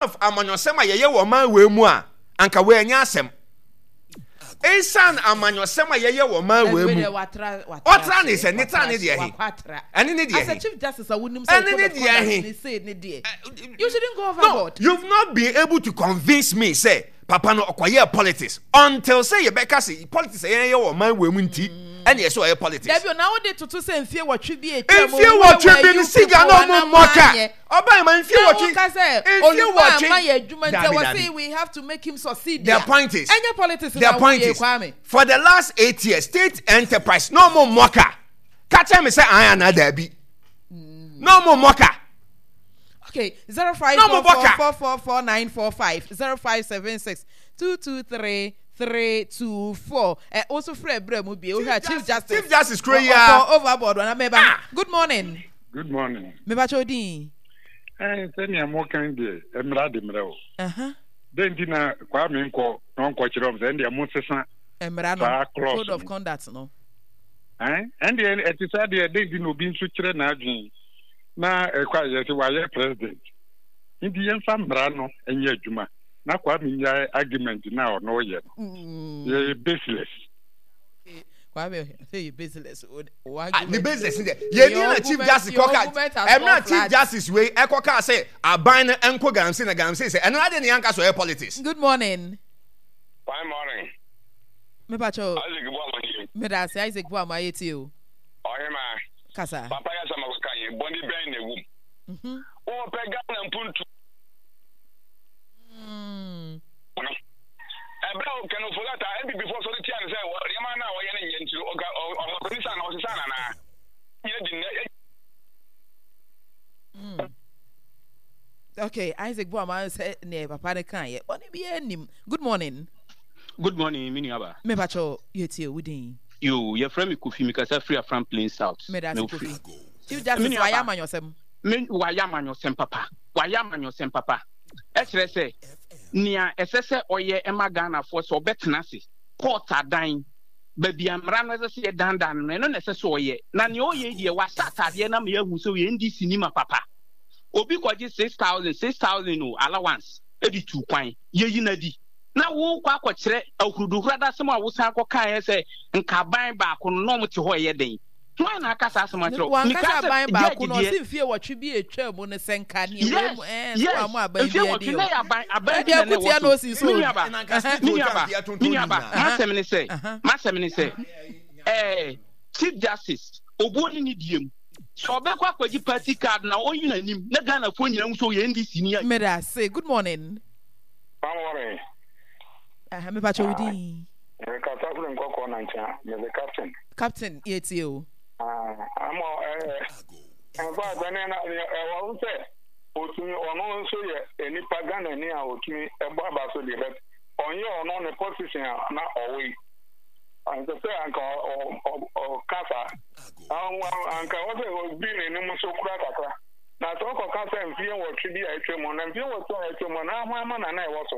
Of amanyɔsɛm a yɛyɛ wɔ ɔman wei mu a, anka wei ɛnyɛ asɛm. Esiane amanyɔsɛm a yɛyɛ wɔ ɔman wei mu, ɔtra ne sɛ ne tra ne deɛ he, ɛne ne deɛ he, ɛne ne deɛ he. No, you've not been able to convince me sɛ papa no ɔkɔyɛɛ politics until sɛ yɛbɛka sɛ politics a yɛyɛ wɔ ɔman wei mu nti ɛne ɛsɛ ɔyɛ politics. Dabi o, na wode toto sɛ mfie wɔtwe bi a atwa mu, Mfie where wɔtwe were bi no you siga people na ɔmo anaa mmɔ ka. moanyɛ? Ɔbaa ma mfie Na wɔtwe woka sɛ mfie Oluma wɔtwe ama yɛ adwuma nti Dabi ɛwɔ dabi. se we have to make him succeed The a, point is ɛnyɛ politics the na point woyɛ is Kwame. for the last 8 years state enterprise na ɔmo mmɔ ka. Ka kyerɛ me sɛ an anaa daabi. Na ɔmo mmɔ ka. Okay, 05 Na ɔmo four bɔ four ka. four four four 945 0576 223 324. Ɛ wo nso frɛ berɛ mu bie wohwɛ a Chief Justice Chief Justice kuro yi ɔkɔ ara. overboard wana mɛba. Ah! Good morning. Good morning. Mebakyɛ odin. Ɛn sɛnea mokan deɛ mmara de mmerɛ o. Aha. Dɛn nti na Kwame nkɔ na ɔnkɔkyerɛ wɔn sɛ ɛndeɛ mosesa Mmara no, saa clause code of no. conduct no. Ɛn ɛndeɛ ɛte saa deɛ dɛn nti na obi nso kyerɛ n'adwene na ɛkɔ a yɛsɛ wayɛ president. Nti yɛmfa mmara no nyɛ adwuma na Kwame nyae argument no a ɔno ɔyɛ no. Yɛyɛ baseless. Kwame sɛ yɛ baseless. Ah, ne baseless deɛ yɛni na chief justice kɔka ɛmira chief justice wei ɛkɔka sɛ aban no ɛnkɔ galamsey na galamsey sɛ ɛno adeɛ ne yanka so ɛyɛ politics. Good morning. Fine morning. Mepa kyɛw. Isaac Boama nie. Meda ase Isaac Boama ayɛ tie o. Ɔhema. Kasa. Papa yɛ asɛm akɔka yɛ bɔne bɛn na ɛwom. Mhm. Wɔpɛ Ghana mpuntu. No. Ɛberɛ a Ken Ofori-Atta NPP foɔ sɔre tia no sɛ nneɛma no a ɔyɛ no nyɛ nti no ɔka ɔmampanin saa na ɔsesa no anaa? Nyina di nnɛ. Okay, Isaac Boama sɛ neɛ papa no kaeɛ bɔne biara nnim. Good morning. Good morning, me nuaba. Mepa kyɛw yɛtie wo din. Yo, yɛfrɛ me Kofi, mekasa firi Afram Plains South. Meda ase Kofi. Chief Justice wayɛ amanyɔsɛm. Me wayɛ amanyɔsɛm papa. Wayɛ amanyɔsɛm papa. Ɛkyerɛ sɛ nea ɛsɛ sɛ ɔyɛ ɛma Ghanafoɔ sɛ ɔbɛtena ase court adan baabi a mmara no ɛsɛ sɛ yɛdandan no ɛno na ɛsɛ sɛ ɔyɛ na nea ɔyɛ yi deɛ wahyɛ ataadeɛ no ama yɛahu sɛ ɔyɛ NDC ni ma papa. Obi kɔgye 6000 6000 o allowance de tu kwan yɛyi no adi na wokɔ akɔkyerɛ ahuruduhuradasɛm a wosan kɔkaeɛ sɛ nka aban baako no na wɔte hɔ ɛyɛ den. Hwan na aka saa asɛm akyerɛ wo? Wanka Mekaa sɛ sɛ aban baako judge no deɛ ɔse mfie wɔtwe bi a etwaa mu no sɛ nka nea wei Yes, mu ɛɛ sɛ yes. wamma aban Mfie bi wɔtwe adi na o. ɛyɛ aban aban bi Ɛdeɛ na na ko tia ɛwɔ na so. osi so Me o. nuaba, Ɛna nka state me hotels nuaba, deɛ tontɔn me ne nuaba, nyinaa. m'asɛm ne sɛ, Aha. m'asɛm ne sɛ, ɛɛ Chief Justice, obuo ne ne die mu. Sɛ ɔbɛkɔ akɔgye party card na ɔnyi n'anim na Ghanafoɔ nyinaa hu sɛ ɔyɛ NDC ni a. Meda ase. Good morning. Good morning. Aha, mepa kyɛw wo din. Mekasa firi Nkɔkɔɔ Nankyea, mede Captain. Captain, yɛtie o. Ama ɛɛ, in fact, ɛne na ɛwɔ ho sɛ otumi ɔno nso yɛ nipa Ghana ni a otumi ɛbɔ aba so deɛ but ɔnyɛ ɔno ne position a na ɔwɔ yi. Anka sɛ anka ɔka saa. Anka wɔ sɛ obi n'anim so kura kakra. Na sɛ ɔkɔka sɛ mfeɛ 8 bi a atwa mu na mfeɛ 8 a atwa mu na ahwan ma na na ɛwɔ so.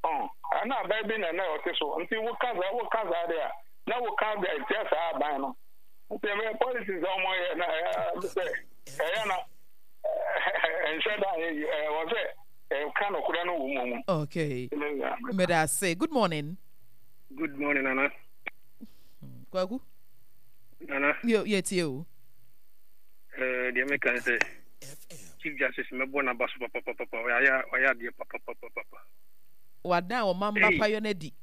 Ɔn, ɛna aban bi na na ɔte so. Nti woka saa woka saa deɛ a na woka de atia saa aban no. Nti ɛbɛyɛ politics a wɔyɛ na ɛyɛ sɛ ɛyɛ na ɛnhyɛ da anyɛ yie. Ɛwɔ sɛ ɛka nokorɛ no wɔ mu mu. Okay. Meda ase. Good morning. Good morning, Nana. Kwaku. Nana. Yo, yɛtie o. Eh, deɛ meka ne sɛ Chief Justice mɛbɔ n'aba so papapapa ɔyɛ ɔyɛ adeɛ papapapapa. Wadan ɔman ba payɔ no adi.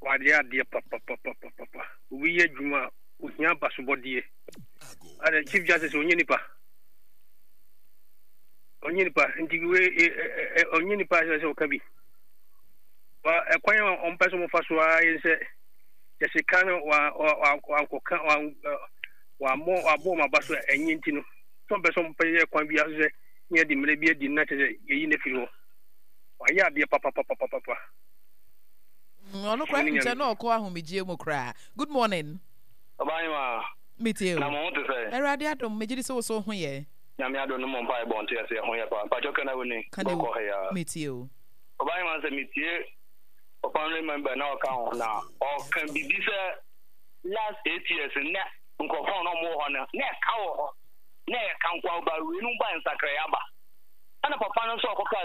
Wayɛ adeɛ papapapapa. Obi yɛ adwuma a ohia abasobɔdeɛ. Ada Chief Justice ɔnyɛ nipa. Ɔnyɛ nipa nti we ɔnyɛ nipa sɛ sɛ ɔka bi. Wa ɛkwan a ɔmpɛ sɛ ɔmofa so ara yɛ sɛ yɛsi kan no wa wa wankɔka wa wammɔ wabɔ wɔn aba so a ɛnyɛ nti no sɛ ɔmpɛ sɛ ɔmpɛ yɛ kwan bi aso sɛ ne yɛde mmerɛ bi adi no na kyerɛ sɛ yɛyi no afiri hɔ. Wayɛ adeɛ papapapapapa. Ɔno koraa nkyɛ na ɔkɔ ahomegyeɛ mu koraa. Good morning. Ɔbahema, Metie o. na mo ho te sɛn? Awurade adom, megye di sɛ wo so wo ho yɛ. Nyame adom no mo mpaebɔ nte ase ɛho yɛ paa. Mpakyɛw ka na wo ni, Ka na bɔkɔ ha yi ara. Metie o. Ɔbahema sɛ metie ɔfamily member na ɔka ho na ɔka bibi sɛ last 8 years na nkurɔfoɔ a na wɔwɔ hɔ no na ɛka wɔ hɔ na ɛka nko ba wei no ba nsakraeɛ aba. Ɛna papa no nso ɔkɔkaa.